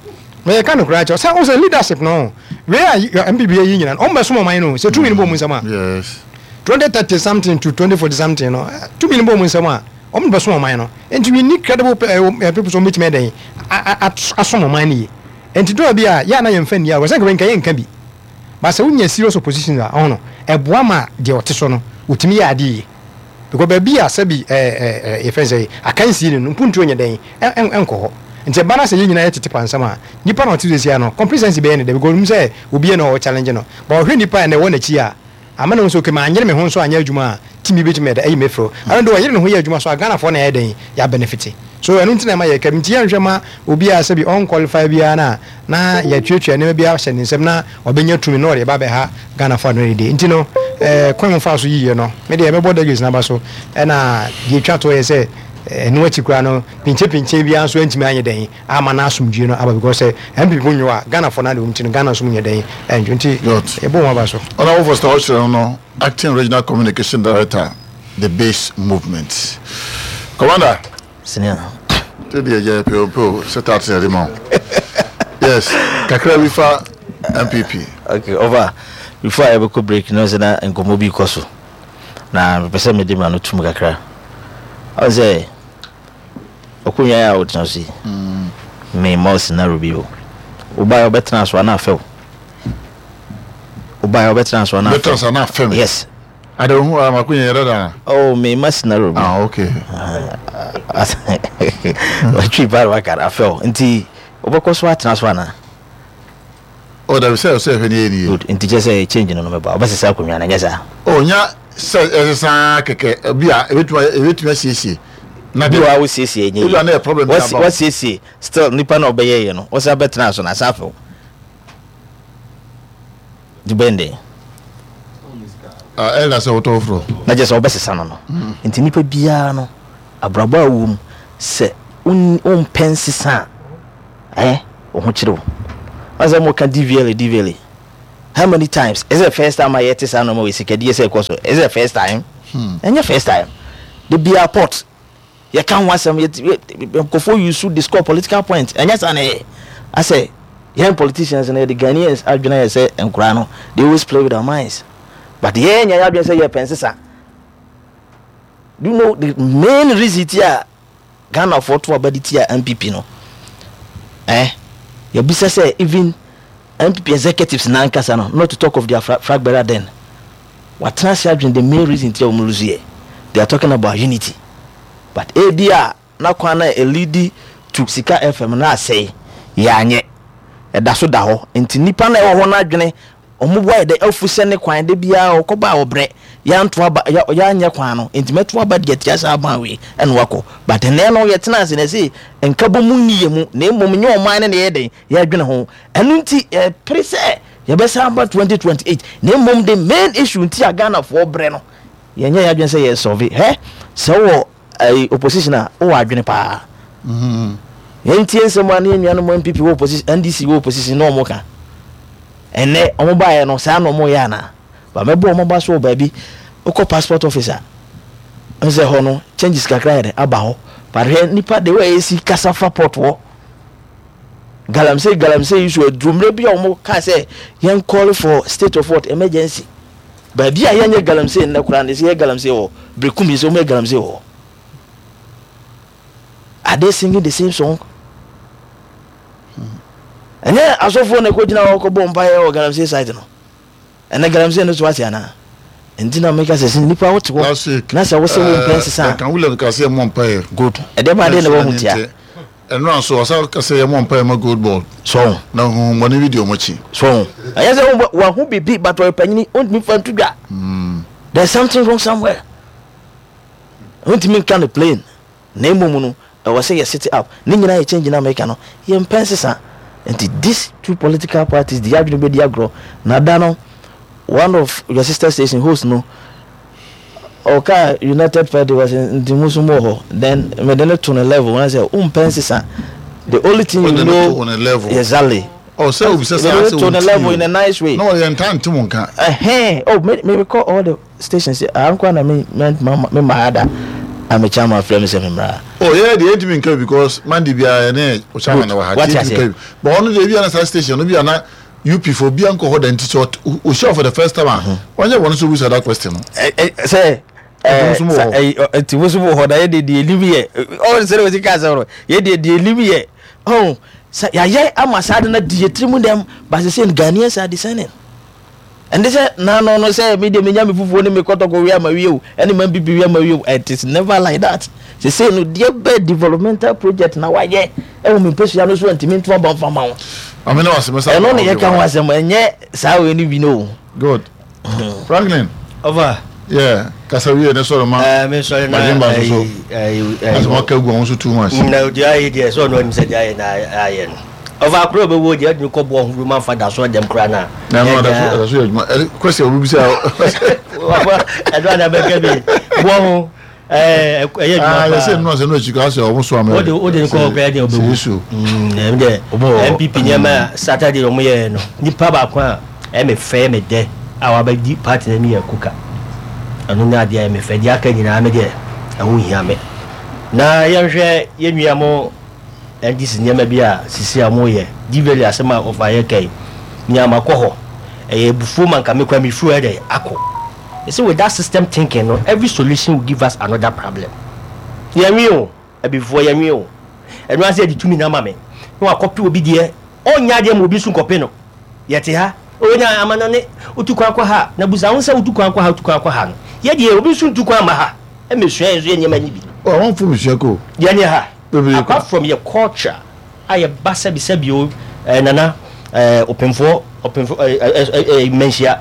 mɛ yɛ ka no koraa kyɛw sɛ ɔsɛ leadership no wei a npp yɛ yi nyina no ɔmo bɛ som ɔman no sɛ tumi no bɔ ɔmo nsam a 2030 something to 2040 something no tumi no bɔ ɔmo nsam a ɔmo bɛ som ɔman no nti we need credible people so ɔmo betumi ɛdɛn asom ɔman no yie nti dɔɔ bi a yɛ a na yɛn fɛ nni agorɔ sɛ nka wei nka yɛ nka bi ba sɛ wonya serious opposition a ɔho no ɛboa ma deɛ ɔte so no otumi yɛ adeɛ yie. Because baabi a sɛbi ɛɛ ɛɛ yɛfrɛ no sɛ akansie ni no mpuntuo nyɛ dɛn ɛnkɔ hɔ. Nti ɛba no sɛ yɛn nyinaa yɛ tete pansam a, nipa na ɔte so sesia no complacency bɛyɛ ne dɛ because onim sɛ obiara na ɔwɔ challenge no. But ɔhwɛ nipa a ɛnɛ ɛwɔ n'akyi a, ama no hu sɛ okay manyere me ho nso anyɛ adwuma a, team bi bɛtumi ayɛ dɛn ayi me afiri hɔ. Ɛno deɛ ɔyere ne ho yɛ adwuma so a Ghanafoɔ na yɛayɛ dɛn yɛ benefit. So ɛno nti na ɛma yɛka bi. Nti yɛnhwɛ ma obi a sɛbi ɔnqualify biara no a na yɛatuatua nneɛma bi ahyɛ ne nsam na ɔbɛnya tumi na ɔde ba abɛha Ghanafoɔ ano dede. Nti no, eh, kwan mu faa so yiye no, me deɛ mɛbɔ delegates no aba so. Ɛna deɛ ɛtwa toɔ yɛ sɛ, ɛno akyi koraa no, pinkye-pinkye biara nso antumi anyɛ dɛn amma na asomdwie no aba because sɛ NPP mu nwo a, Ghanafoɔ no ade wɔn ti no, Ghana nso mu nyɛ dɛn ɛndwo. Nti yɛbɔ wɔn aba so. Honourable Foster Ɔkyerɛ no no, Acting Regional Communication Director, The Base Movement. Commander. Senior. Te deɛ yɛ peo peo sɛ taate yɛde ma wo. Yes, kakra bi fa MPP. Okay, over. Before a yɛbɛkɔ break no sɛ na nkɔmmɔ bi kɔ so. Na mepɛ sɛ mede ma no tum kakra. Ɔn sɛ ɔkonnwa yi a wotena so yi, me mma wo scenario bi o. Wobaeɛ wobɛtena so a na afɛ wo. Wobaeɛ wobɛtena so a na afɛ wo. Wobɛtena so a na afɛ me. Yes. Ada ohu a mako yɛ dada. Oh, me ma scenario bi. Ah, okay. Watwi ba waka afɛw. Nti wobɛkɔ so atena so ana? Oh, dabi sɛ sɛ hwɛ ne yɛ ni. Good. Nti kyɛ sɛ change no no mɛba. Wobɛsesa akonnwa no nyɛ saa? Oh, nya sɛ ɛsesa kɛkɛ bi a ebetumi ebetumi asiesie. Na Bi deɛ wɔ hɔ a wosiesie ɛnyɛ ebi a na yie. yɛ problem bi Wasi aba o. wasiesie still nipa na ɔbɛyɛ yɛ no ɔsan bɛtena so na asan afew. Nti bɛn den. Ah, ɛna sɛ wotɔ foforɔ. Na kyerɛ sɛ wobɛsesa no no. Nti nipa biara no abrabɔ a wowɔ mu sɛ wompɛ nsesa a eh wo ho kyere wo. Wɔn sɛ wɔka DVLA DVLA how many times is it the first time a yɛte saa nneɛma wɔ sikadie sɛ ɛkɔ so is it the first time ɛnyɛ first time de bia port yɛka ho asɛm yɛ nkurɔfoɔ use to score political point ɛnyɛ saa na ɛyɛ asɛ yɛn politicians no yɛde Ghanaians adwene ayɛ sɛ nkoraa no they always play with our minds but yɛn nyɛ yɛadwene sɛ yɛpɛ nsesa. Do you know the main reason ti a Ghanafoɔ to aba de tia NPP no? Eh, yɛbisa sɛ even NPP executives nankasa no, not to talk of their flag bearer then, watena ase adwene the main reason ti a wɔn lose yɛ. They are talking about unity. But ebi a na kwan na elidi to Sika FM no asɛe, yɛanyɛ. Ɛda so da hɔ. Nti nipa na ɛwɔ hɔ no adwene Ɔmo bo ayɛ dɛ afu sɛ ne kwan da biara ɔkɔ ba a ɔbrɛ, yɛanto aba yɛ yɛanyɛ kwan no nti mɛto aba de atia saa aban wei ɛna wakɔ but ɛnɛ no yɛtena ase na ɛse nkabɔmu nni yɛ mu na mmom nyɛ ɔman no na yɛyɛ dɛn yɛdwene ho ɛno nti yɛpere sɛ yɛbɛsan aba 2028 na mmom the main issue nti a Ghanafoɔ brɛ no yɛnyɛ yɛadwene sɛ yɛ solve hɛ sɛ wowɔ Ayi opposition a wowɔ adwene paa. Yɛntie nsɛm a ne yɛn nuanom NPP wɔ opposition, NDC wɔ opposition na wɔn ka. Ɛnɛ wɔn baeɛ no saa na wɔn yɛ anaa? Ba mɛbɔ wɔn aba so wɔ baabi. Wokɔ passport office a, n sɛ hɔ no changes kakra yɛ dɛ aba hɔ. But hwɛ nipa the way esi kasa fa port hɔ. Galamsey galamsey yi so aduru mmerɛ bi a wɔn kaa sɛ yɛn call for state of what emergency. Baabi a yɛnyɛ galamsey nnɛ koraa no, yɛsɛ yɛ galamsey wɔ hɔ. Berekum yɛsɛ wɔyɛ galamsey wɔ hɔ. Are they singing the same song? Ɛnyɛ asɔfoɔ na ɛkɔgyina hɔ kɔbɔ mpaeɛ wɔ galamsey site no. Ɛnɛ galamsey no so ate anaa? Nti na meka sɛ sɛ nipa wote hɔ na sɛ wosɛ wo mpɛ nsesa a. Duncan Williams ka sɛ yɛmmɔ mpaeɛ. Good. Ɛdeɛ baa deɛ na wahu tia. Ɛnora nso ɔsan ka sɛ yɛmmɔ mpaeɛ ma gold board. So ho. Na honhommɔne bi di wɔn akyi. So ho. Ɛnyɛ sɛ wahu biribi but ɔyɛ panyini ɔntumi fa nto dwa. There's something wrong somewhere. Ɔntumi nka no plain. Na mmom no ɛwɔ sɛ yɛ sit up. Ne nyinaa yɛ change na meka no. Yɛmpɛ nsesa. Nti these two political parties de yɛadwene bɛdi agorɔ. Na da no one of your sister station host no Ɔkaa United Party wɔ sɛ nti mo nso mo wɔ hɔ then mede no to ne level wɔn sɛ wompɛ nsesa the only thing you know exactly. Oh, sɛ obi sɛ saa sɛ to ne level in a nice way. Na ɔyɛ nta nte mo nka. Ɛhɛn oh me me kɔ all the stations ankwa na me me me ma ada amekyɛ ama afrɛ me sɛ me mmra. Oh yɛ deɛ yɛntumi nka bi because Monday biara yɛne Okyama na wɔ ha. Wate aseɛ. Yɛntumi nka bi but ɔno deɛ ebi ana saa station no bi ana UP fo obiara nkɔ hɔ da nti sɛ ɔhyia for the first time a ɔnyɛ bɔne sɛ ɔbisa that question no. Sɛ nti mo nso mo wɔ hɔ na yɛ deɛ deɛ enim yɛ ɔn sɛ ɔsi kaa sɛ ɔno yɛ deɛ deɛ enim yɛ ɔn sɛ yɛayɛ ama saa de na di yɛ tiri mu dɛm but sɛ sɛ Ghanaians are discerning ɛnde sɛ naano no sɛ me deɛ menya me fufuo ne me kɔtɔkɔ wie ama wie o ɛne ma mpipi wie ama wie o it is never like that sese no deɛ bɛ developmental project na wayɛ ɛwɔ me mpɛsua no so ntumi nto aba nfa ma wo ɛno ne yɛka ho asɛm ɛnyɛ saa wei no bi no good Franklin over yeah kasa wie ne sɔrɔ ma eh, me sɔrɔ na madwemba so so asɛm aka gu ɔho so too much na deɛ ayɛ deɛ sɛ ɔno anim sɛ deɛ ayɛ na ayɛ no ɔfa akoro bɛwɔ deɛ ɛde kɔ boɔ ho ma nfa da so dɛm koraa na na ɛno ɛda so yɛ adwuma kwasi a obi bisa ɛno ana bɛka bi boɔ ho ɛyɛ adwuma paa. Yɛsɛ nnura sɛ nnura akyi kaa sɛ ɔmo so amɛ. Wode wode nkɔ ɔkura deɛ ɔbɛwu. Yesu. Ɛm deɛ NPP nneɛma a Saturday ɔmo yɛɛ no nipa baako a ɛyɛ me fɛ ɛyɛ me dɛ a wabɛdi party no anim yɛ Kuka. Ɛno ne adeɛ a ɛyɛ me fɛ deɛ aka nyinaa me deɛ ɛho nhia me. Na yɛnhwɛ yɛn nua mo NDC nneɛma bi a sisi a wɔyɛ Diwali asɛm a ɔfa yɛ ka yi nea makɔ hɔ ɛyɛ abufuo ma nka me kora mefiri hɔ ɛdɛ akɔ. You see with that system thinking no every solution will give us another problem. Yɛnwe o, abibifoɔ yɛnwe o. Ɛno ara sɛ yɛde tumi no ama me na wakɔpe obi deɛ ɔnyɛ adeɛ ma obi nso nkɔpe no. Yɛte ha, onya amanɔne, wotu kwan kɔ ha na busa ho sɛ wotu kwan kɔ ha wotu kwan kɔ ha no. Yɛ deɛ obi nso ntu kwan mma ha mmɛsua yɛn nso yɛ nneɛma no bi. Oh, amanfoɔ mesua kɔ o. Yɛne ha. Bebree kɔ. Apart from yɛ culture a yɛ ba sɛbi sɛbi o eh, nana eh, ɔpemfoɔ ɔpemfoɔ eh, eh, eh, eh, mmanhyia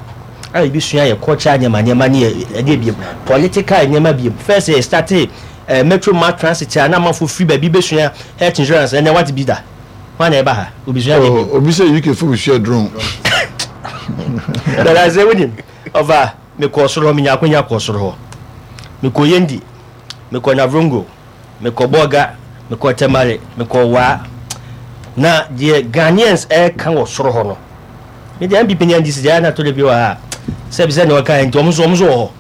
a yɛbi sua yɛ culture nneɛma nneɛma ne yɛ ɛdeɛ biem political nneɛma biem first yɛ starte. Metro Mass Transit a na amanfoɔ firi baabi bɛsua health insurance, ɛnɛ wate bi da? Hwan na ɛba ha? Obisua adeɛ bio. Oh, obi sɛ UK fo besua drone. Dada sɛ wonim, ɔfa mekɔɔ soro hɔ, menya akwanya kɔɔ soro hɔ. Mekɔɔ Yendi, mekɔɔ Navrongo, mekɔɔ Bolga, mekɔɔ Tamale, mekɔɔ Waa. Na deɛ Ghanaians ɛreka wɔ soro hɔ no, me deɛ NPP ne NDC deɛ na to de bi wɔ ha a, sɛbi sɛ nea ɔka nti wɔn nso wɔn nso wɔ hɔ.